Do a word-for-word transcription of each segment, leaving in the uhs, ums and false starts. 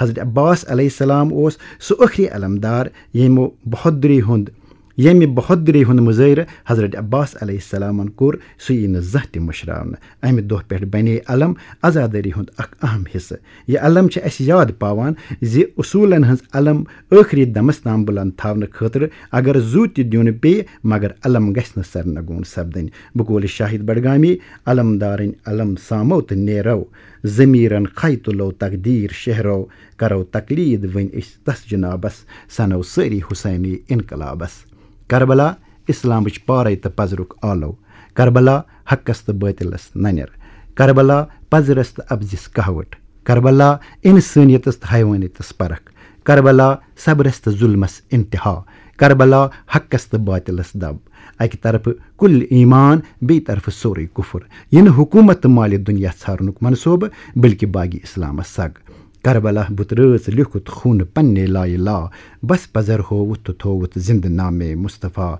حضرت عباس علیہ السلام اوس سُہ ٲخری علمدار، ییٚمہِ بہادری ہُنٛد ییٚمہِ بہادری ہُنٛد مظٲہرٕ حضرت عباس علیہ السلامن کوٚر، سُہ یی نہٕ زانٛہہ تہِ مٔشراونہٕ۔ اَمہِ دۄہ پٮ۪ٹھ بنے علم عزادٲری ہُنٛد اکھ اہم حصہٕ۔ یہِ علم چھِ اَسہِ یاد پاوان زِ اصوٗلن ہٕنٛز علم ٲخری دمس تام بُلند تھاونہٕ خٲطرٕ اگر زُو تہِ دیُن پیٚیہِ، مگر علم گژھِ نہٕ سرنگون سپدٕنۍ۔ بقول شاہد بڈگامی، علمدارٕنۍ علم سامو تہٕ نیرو، ضمیرن کھے تُلو تقدیر شہرو، کرو تقلید وۄنۍ أسۍ تس جنابس، سنو سٲری حسینی انقلابس۔ کربلا، اسلامٕچ پارے تہٕ پزرُک آلو۔ کربلا، حقس تہٕ باطلس ننیر۔ کربلا، پزرس تہٕ ابزِس کہوٹ۔ کربلا، انسٲنیتس تہٕ حیوانیتس پرکھ۔ کربلا، صبرس تہٕ ظلمس انتہا۔ کربلا، حقس تہٕ باطلس دب۔ اکہِ طرفہٕ کل ایمان، بیٚیہِ طرفہٕ سورُے کفر۔ یہِ نہٕ حکومت تہٕ مالِ دنیا ژھارنُک منصوبہٕ، بلکہ باغی اسلامس سگ۔ کربلا بُتہٕ رٲژ لیوٚکھُت خوٗنہٕ پننے لایہِ لا، بس پزر ہووُتھ تہٕ تھووُتھ زندٕ نامے مصطفیٰ۔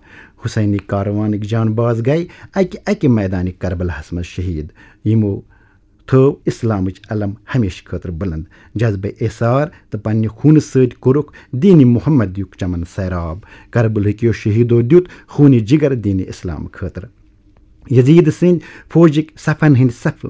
حسینی کاروانٕکۍ جان باز گٔے اکہِ اکہِ میدانہِ کربلاہس منٛز شہید، یِمو تھٲو اسلامٕچ علم ہمیشہٕ خٲطرٕ بلند۔ جذبہٕ ایثار تہٕ پننہِ خوٗنہٕ سۭتۍ کوٚرُکھ دینِ محمدیُک چمن سیراب۔ کربلہٕکیو شہیدو دیُت خوٗنہِ جگر دینِ اسلام خٲطرٕ۔ یزید سٕنٛدۍ فوجٕکۍ صفن ہٕنٛدۍ صف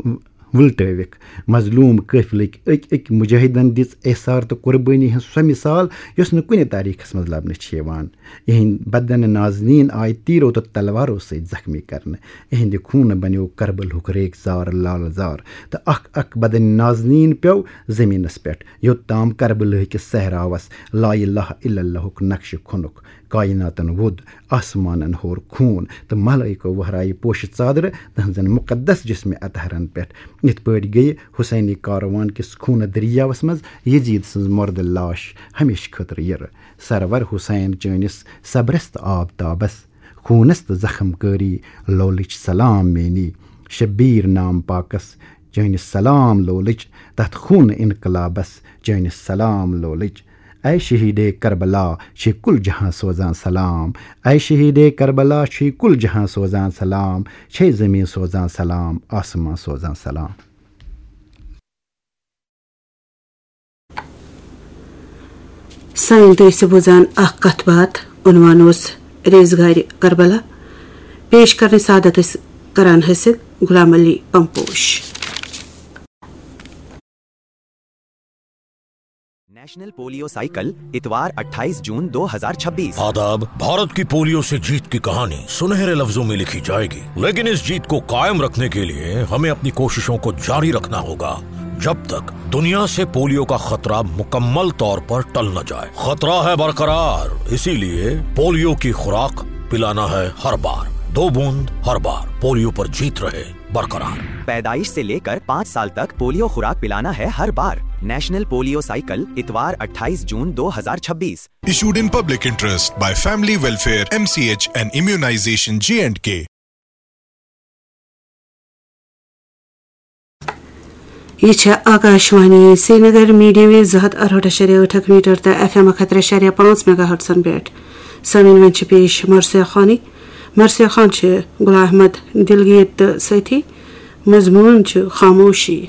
وُلٹٲوِکھ۔ مظلوم قٲفلٕکۍ أکۍ أکۍ مجاہدن دِژ ایثار تہٕ قربٲنی ہٕنٛز سۄ مثال، یۄس نہٕ کُنہِ تاریخس منٛز لبنہٕ چھِ یِوان۔ یِہنٛدۍ بدن نازنین آیہِ تیرو تہٕ تلوارو سۭتۍ زخمی کرنہٕ۔ یِہنٛدِ خوٗنہٕ بنیو کربلہُک ریگزار لال زار، تہٕ اکھ اکھ بدن نازنین پیوٚو زمینس پٮ۪ٹھ، یوٚت تام کربلہٕکِس صحراوس لا الہ الا اللہُک نقشہٕ کھوٚنُکھ۔ کائناتن ووٚد، آسمانن ہور خوٗن، تہٕ ملائکو وہرایہِ پوشہٕ ژادرٕ تہنٛزن مقدس جسمِ اطہرن پٮ۪ٹھ۔ یِتھ پٲٹھۍ گٔیہِ حسینی کاروان کِس خوٗنہٕ دٔریاوس منٛز یزید سٕنٛز مردٕ لاش ہمیشہٕ خٲطرٕ یِرٕ۔ سرور حسین چٲنِس صبرس تہٕ آب تابس، خوٗنس تہٕ زخم کٲری لولٕچ سلام میٛٲنی۔ شبیر نام پاکس چٲنِس سلام لولٕچ، تتھ خوٗنہٕ انقلابس چٲنِس سلام لولٕچ۔ اے شہیدے کربلا، چھے کل جہاں سوزان سلام۔ اے شہیدے کربلا، چھے کل جہاں سوزان سلام۔ چھے زمین سوزان سلام، آسمان سوزان سلام۔ سٲنۍ دوستو، بوزان اکھ کتھ باتھ، عنوان اوس ریزگارِ کربلا۔ پیش کرنٕچ سعادت ٲسۍ کران حٲصِل Ghulam Ali Pamposh. National polio cycle, اتوار اٹھائیس جون دو ہزار چھبیس۔ آداب، بھارت کی پولیو سے جیت کی کہانی سنہرے لفظوں میں لکھی جائے گی، لیکن इस जीत को कायम रखने के लिए हमें अपनी कोशिशों को जारी रखना होगा, जब तक दुनिया से पोलियो का खतरा मुकम्मल तौर पर टल न जाए। खतरा है बरकरार, इसीलिए पोलियो की खुराक पिलाना है हर बार। दो बूंद हर बार, पोलियो पर जीत रहे बरकरार। पैदाइश से लेकर पाँच साल तक पोलियो खुराक पिलाना है हर बार। नेशनल पोलियो साइकिल, इतवार अट्ठाईस जून दो हज़ार छब्बीस। Issued in public interest by Family Welfare, M C H and Immunization J and K. یہِ چھےٚ آکاشوانی سرینگر، میٖڈیم ویو زٕ ہَتھ اَرہٲٹھ اَشاریہ ٲٹھ میٖٹر تہٕ ایف ایم اَکھ ہَتھ ترٛےٚ اَشاریہ پانٛژھ میگا ہرٹزن پٮ۪ٹھ۔ سامعیٖن، وۄنۍ چھِ پیش مرثیہ خانی۔ مرثیہ خان چھِ غلام احمد دلگیر تہٕ سٲتھی مضموٗن چھُ خاموشی۔